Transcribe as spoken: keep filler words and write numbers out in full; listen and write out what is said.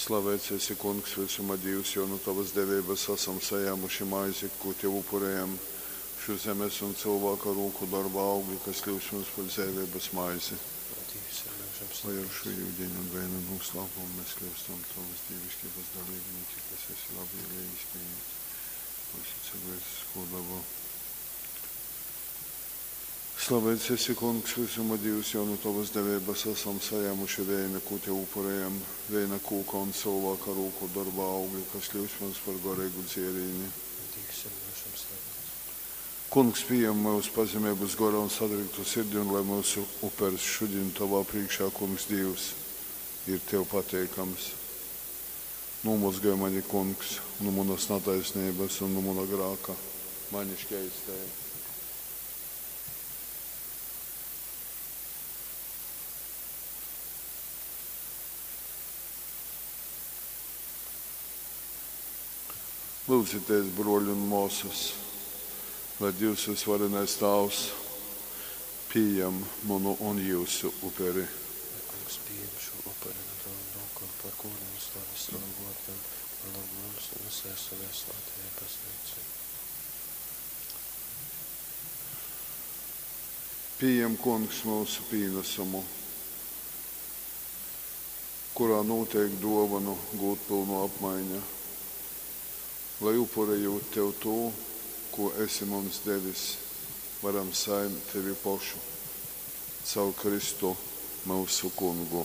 Slaveits esi, Kungs, vysuma Dīvs, jo nu tovas deveibas asam sajāmuši maizi, kū tev upurejam, šū zemes un cylvāka rūku dorba augli, kas kļyus mums par dzeiveibas maizi. Dīvs ir myužam Lai ar slaveits. šo yudeņa un veina noslēpumu mēs kļūstam tavas dievišķības dalībnieki, kas esi labvēlīgs pieņemt mūsu cilvēcisko dabu. Slaveits esi, Kungs, visuma Dievs, jo no tavas deveibas esam sajēmuši veina, ko tev upurējam, veina kūka un cilvēka rūku darba augļi, kas kļūst mums par garīgu dzierīni. Dievs ir myužam slaveits. Kungs, pieņem mūsu pazemības goru un sadriktu sirdi, un lai mūsu upers šodien tavā priekšā, Kungs, Dievs, ir tev pateikams. Nomazgāj mani, Kungs, no manas netaisnības un no mana grāka, mani šķeistēja. Lūdzieties, broļi un māsas, lai Dievs visvarenais Tēvs pieņem manu un jūsu uperi. Lai kungs pieņem šo upuri no tavām rokām par godu un slavi savam vārdam, par labu mums un visai savai svētajai baznīcai. Pieņem, Kungs, mūsu pienesumu, kurā notiek dāvanu gūtpilnu apmaiņa, lai upurējot tev to, ko esi mums devis, varam saņemt tevi pašu caur Kristu mūsu Kungu.